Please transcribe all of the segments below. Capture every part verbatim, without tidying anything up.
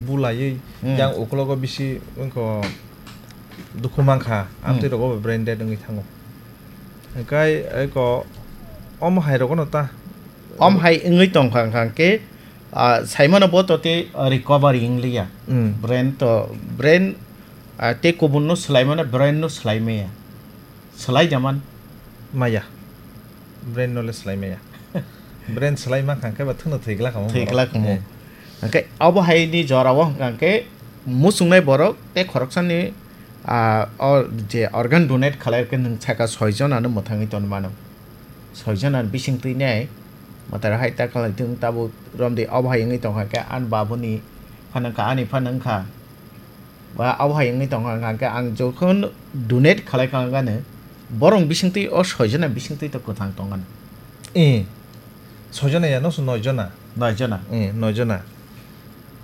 bulaiwi Hmm. yang ukulogo bisi wngkha dukhu mankha, Hmm. amtwi rogo bo brain dead wngwi thango. Hwnkhe eko omo hai rogono ta Om hai wngwi tongkha hwnkha khe, ah, saimano bo to tei, ah, recovery wngliya. Hmm. Brain to, brain, ah, tei kubunno swlaimano brain no swlaimaya. Swlai jaman. Maya. Brain no le swlai maya. Brain swlai mankha khe ba thwngno thwi glak kamo Thwi borok. glak kamo. Eh. Hwnkhe abo hai ni jora o hwnkha khe muchungnai borok tei khoroksani, ah, o je organ donate khalai khe nwng saka soi jonano mwthangwi tongwi mano. Soi jonani bising twi nai mwtai hai ta khalai thung tabuk romdi abo hai wngwi tongkha khe ani babuni phano wngkha ani phano wngkha. Ba abo hai wngwi tongkha, hwnkha khe ang jokhon donate khalai kha gani, borok bisingtwi o soi jona bisingtwi to kwthang tongani. Eh, soi jona ya, no, noi jona. Noi jona. Eh, noi jona.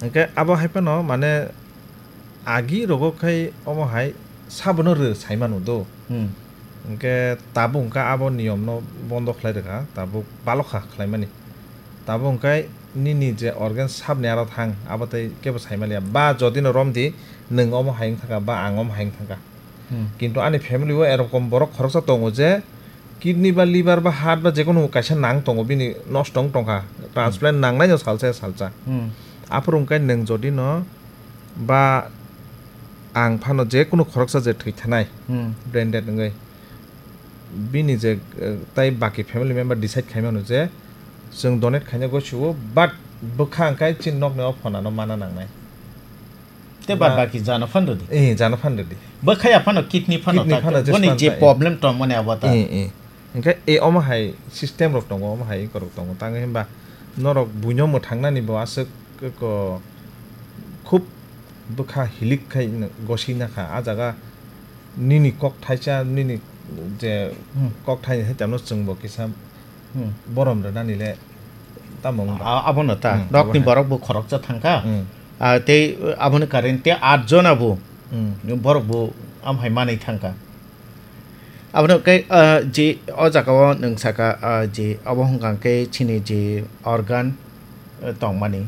Hwnkhe abo hai phano, mane, agi rogo khai omo hai sabono rw sai manu do. Hmm. Hwnkhe tabuk hwnkha abo niyomno bondo khlai rwkha, tabuk balokha khlaimani. Tabuk hwnkhe nini je organ sabni aro thang, abo tei kebo sai manliya. Ba jodino romdi, nwng omo hai wng thangkha, ba ang omo hai wng thangkha. Hmm. Kintu ani family o erokom borok khoroksa tongo je, kidney ba liver ba heart ba jekono kaisa nang tongo, bini nosto wng tongkha, transplant Hmm. nangnaino salsa salsa. Hmm. Aphuru hwnkhe nwng jodino ba ang phano jekono khoroksa je thwi thanai, Hmm. brain dead wngwi, bini je, eh, tai baki family member decide khai mano je chwng donate khaina gosiwo, but bwkha hwnkhe chini nokni o phonano mana nangnai. Te bad Ba- baki jano phan rwdi. Eh, jano phan rwdi. Bwkhaya phano kidney phano Kidney ta phano te. Boni je je phano ta, eh. Problem tongmani abo ta. Eh, eh. Hwnkhe, eh, omo hai system rok tongo, omo hai korok tongo. Tang himba norok buino mwthangnani bo aswk ko khub bwkha hilik khai gosina kha. A jaga nini kok thaisa, nini je Hmm. kok thai hai tamo chwngbo kisa Hmm. borom rwnani le tamo wngba. A-, abono ta. Hmm, Nokni abo hai. Borok bo khoroksa thangkha. Hmm. Ah, tei aboni current tei at jona bo Hmm. borok bo am hai manwi thangkha. Abono khe, ah, je o jaga o nwng saka, ah, je obo hwnkha khe chini je organ, eh, tongmani.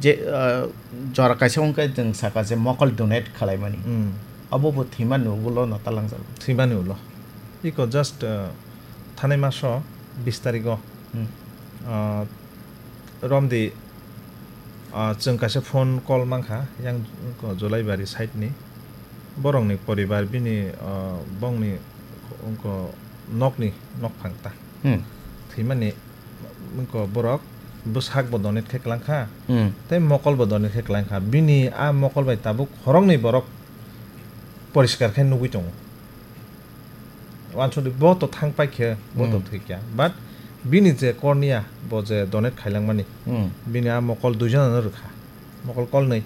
Je, ah, jora kaisa hwnkhe nwng saka je mokol donate khwlaimani. Hmm. Obo bo thwimani ulo no talangjak. Thwimani ulo. Iko just, ah, thanai maso bis tarigo. Hmm. Ah, romdi, ah, chwng kaisa phone call mankha, yang ko Jolaibari side ni. Borokni poribar bini, ah, bongni ko nokni nokphang ta. Hmm. Thwimani ko borok bwsak bo donate khe kwlangkha, Hmm. tei mokol bo donate khe kwlangkha. Bini a mokol bai tabuk khoroknwi borok poriskar khe nugwi tongo. Wansukdi bo to thang paikhe, bo to Hmm. thwikya. But bini je cornea, bo je donate khailangmani, Hmm. bini a mokol duijonano rwkha. Mokol kolnwi.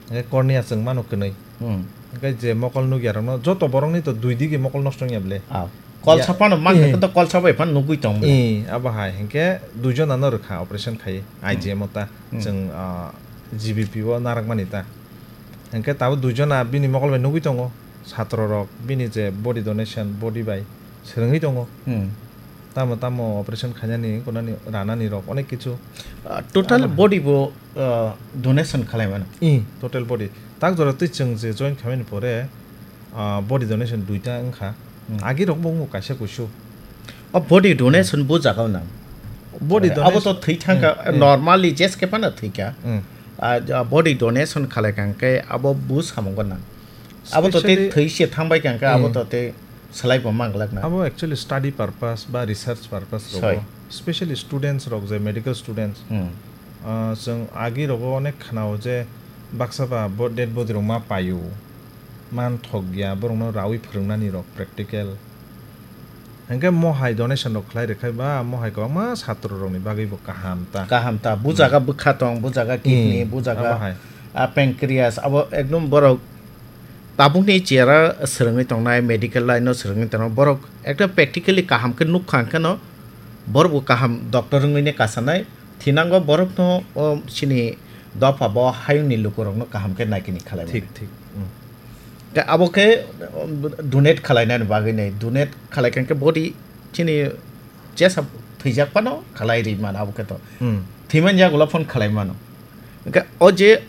Hwnkhe cornea chwng mano kwnwi. Hmm. Hwnkhe je mokol nukyarokno, joto borokni to dui digi mokol nosto wngya bwle. Ah. Kol Ya. Saphano mankha Eh. Khe to kol sabai phano nugwi tong bwle. Eh, abo hai. Hwnkhe duijonano rwkha operation khaiwi, Hmm. I G M o ta. Hmm. Chwng, ah, G B P o narakmani ta. Hwnkhe tabuk duijona bini mokol bai nugwi tongo. Satro rok bini je body donation, body bai swrwngwi tongo. Hmm. Tamo tamo operation khainani, wngkha nani, ranani rok, onek kichu. Ah, total Tamo body bo, ah, donation khalai mano? I, total body. Tak jora twi chwng je join khaimani pore, ah, body donation duita wngkha. Hmm. Agi rok bo wngo kaisa kuisu. O body donation bo jaga o nang? Body Abo donation to thwi thangkha, Hmm, hmm. Normally jes khe phano thwikha. Hmm. Ah, ja, body donation khalai kha hwnkhe abo bo samungo nang. Abo to tei Specially thwi se thangbai kha hwnkhe abo Hmm. To tei Swlai bo manglak na. Abo actually study purpose ba research purpose rogo. Soi. Specially students rok je medical students. Hmm. Ah, chwng agi rogo onek khnao je baksa ba bo dead body rok ma paio, man thok ya, borokno rawi phwrwngnani rok practical. Hwnkhe mohai donation rok khlai rwkhai ba mohai kwbangma satro rokni bagwi bo kaham ta. Kaham ta. Bu jaga bwkha tong, bu jaga kidney, Hmm, bu jaga, abo hai. Ah, pancreas, abo ekdom borok Tabukni chera swrwngwi tongnai, medical line-o swrwngwi tongnai, borok ekta practically kaham khe nukha hwnkhe no, borok bo kaham doctor wngwi ne kasanai, thinango borokno o chini dopha bo hayungni lukurokno kaham khe naikini khlai mani. Thik, thik. Hmm. Khe abo khe, um, donate khlainani bagwi nai, donate khlai khe body chini jesa thwijak phano khlai ri mano abo khe to. Hmm. Thwiman yagulo phone khlai mano. Hwnkhe o je